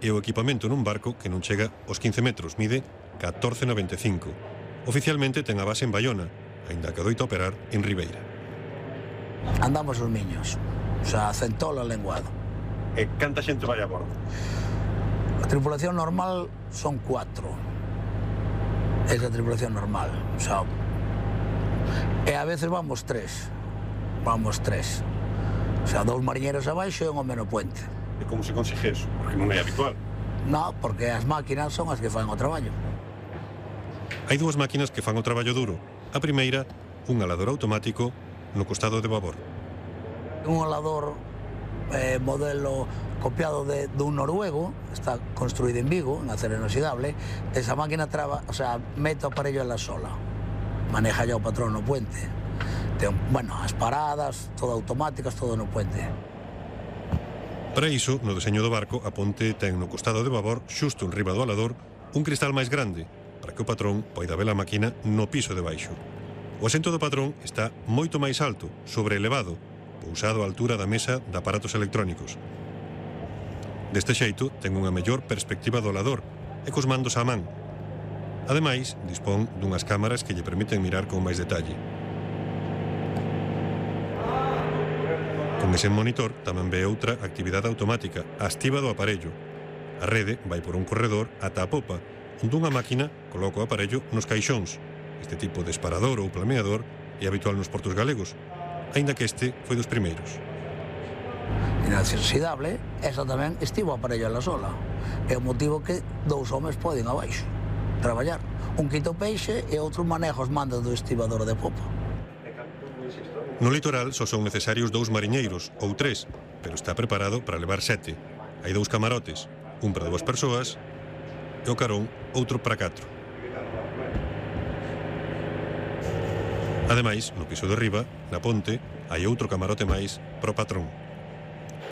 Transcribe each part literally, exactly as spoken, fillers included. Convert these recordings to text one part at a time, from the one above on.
e o equipamento nun barco que non chega aos quince metros, mide catorce noventa e cinco. Oficialmente ten a base en Baiona, aínda que adoita operar en Ribeira. Andamos os miños, o sea, centola lenguado. E canta xente vai a bordo? A tripulación normal son cuatro. Esa tripulación normal, o sea, e a veces vamos tres. Vamos tres. O sea, dous mariñeiros abaixo e un home no puente. E como se consigue eso? Porque non é habitual. Non, porque as máquinas son as que fan o traballo. Hai dúas máquinas que fan o traballo duro. A primeira, un alador automático no costado de babor. Un alador eh, modelo copiado de, dun noruego, está construído en Vigo, en acero inoxidable. Esa máquina traba, o sea, mete o aparello en la sola. Maneja ya o patrón no puente. Ten, bueno, as paradas, todo automáticas, todo no puente. Para iso, no deseño do barco, a ponte ten no costado de babor, xusto en riba do alador, un cristal máis grande, para que o patrón poida ver a máquina no piso de baixo. O asento do patrón está moito máis alto, sobreelevado, pousado á altura da mesa de aparatos electrónicos. Deste xeito, ten unha mellor perspectiva do alador e cos mandos á man. Ademais, dispón dunhas cámaras que lle permiten mirar con máis detalle. Con ese monitor tamén ve outra actividade automática, a activa do aparello. A rede vai por un corredor ata a popa, onde unha máquina coloca o aparello nos caixóns. Este tipo de esparador ou planeador é habitual nos portos galegos, aínda que este foi dos primeiros. Inoxidable, esa tamén estivo o aparello en la sola. É o motivo que dous homes poden abaixo traballar. Un quita o peixe e outro maneja os mandos do estibador de popa. No litoral só son necesarios dous mariñeiros, ou tres, pero está preparado para levar sete. Hai dous camarotes, un para dúas persoas e o carón outro para catro. Ademais, no piso de riba, na ponte, hai outro camarote máis pro patrón.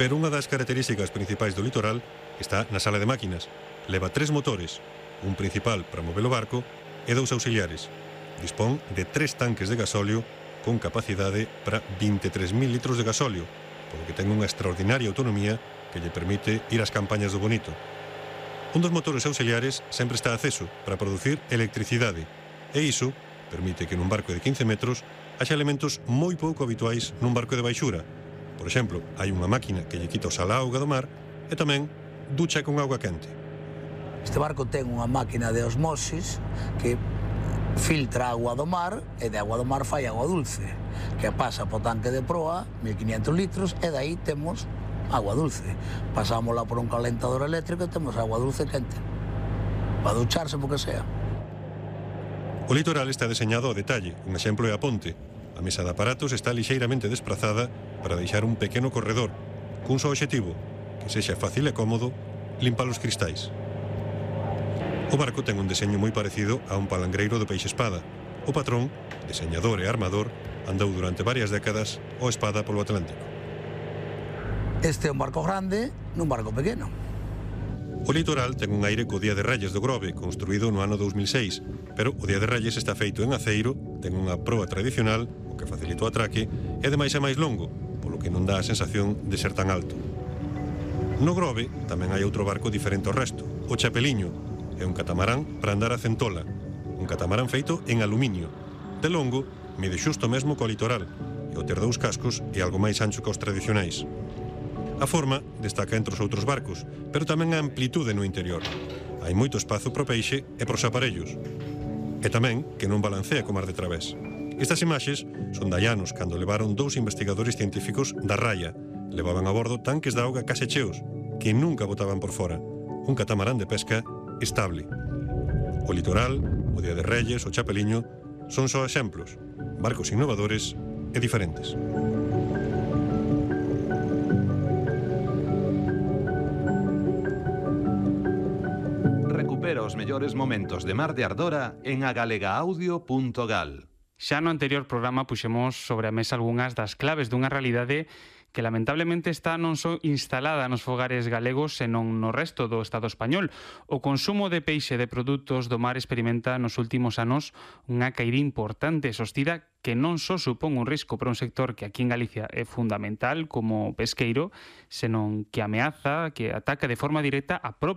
Pero unha das características principais do litoral está na sala de máquinas. Leva tres motores, un principal para mover o barco e dous auxiliares. Dispón de tres tanques de gasóleo con capacidade para vinte e tres mil litros de gasóleo, polo que ten unha extraordinaria autonomía que lle permite ir ás campañas do bonito. Un dos motores auxiliares sempre está aceso para producir electricidade, e iso permite que nun barco de quince metros haxa elementos moi pouco habituais nun barco de baixura. Por exemplo, hai unha máquina que lle quita o sal á auga do mar e tamén ducha con auga quente. Este barco ten unha máquina de osmosis que filtra agua do mar e de agua do mar fai agua dulce, que pasa po tanque de proa, mil quinientos litros, e daí temos agua dulce. Pasámosla por un calentador eléctrico e temos agua dulce quente, para ducharse porque sea. O litoral está deseñado ao detalle, un exemplo é a ponte. A mesa de aparatos está lixeiramente desprazada para deixar un pequeno corredor, cun só obxectivo, que sexa fácil e cómodo limpar os cristais. O barco ten un deseño moi parecido a un palangreiro do peixe espada. O patrón, deseñador e armador, andou durante varias décadas ao espada polo Atlántico. Este é un barco grande nun barco pequeno. O litoral ten un aire co Día de Reyes do Grove, construído no ano dous mil seis, pero o Día de Reyes está feito en aceiro, ten unha proa tradicional, o que facilita o atraque, e ademais é máis longo, polo que non dá a sensación de ser tan alto. No Grove tamén hai outro barco diferente ao resto, o Chapeliño. É un catamarán para andar a centola, un catamarán feito en aluminio. De longo, mide xusto mesmo co litoral, e ao ter dous cascos é algo máis ancho que os tradicionais. A forma destaca entre os outros barcos, pero tamén a amplitude no interior. Hai moito espazo pro peixe e pros aparellos. E tamén que non balancea co mar de través. Estas imaxes son de Llanos cando levaron dous investigadores científicos da Raya. Levaban a bordo tanques de auga case cheos, que nunca botaban por fora. Un catamarán de pesca estable. O litoral, o Día de Reyes, o Chapeliño son só exemplos, barcos innovadores e diferentes. Recupera os mellores momentos de Mar de Ardora en agalega-audio punto gal. Xa no anterior programa puxemos sobre a mesa algunhas das claves dunha realidade que lamentablemente está non só instalada nos fogares galegos senón no resto do Estado español. O consumo de peixe de produtos do mar experimenta nos últimos anos unha caída importante, sostida que non só supón un risco para un sector que aquí en Galicia é fundamental como pesqueiro, senón que ameaza, que ataca de forma directa a propia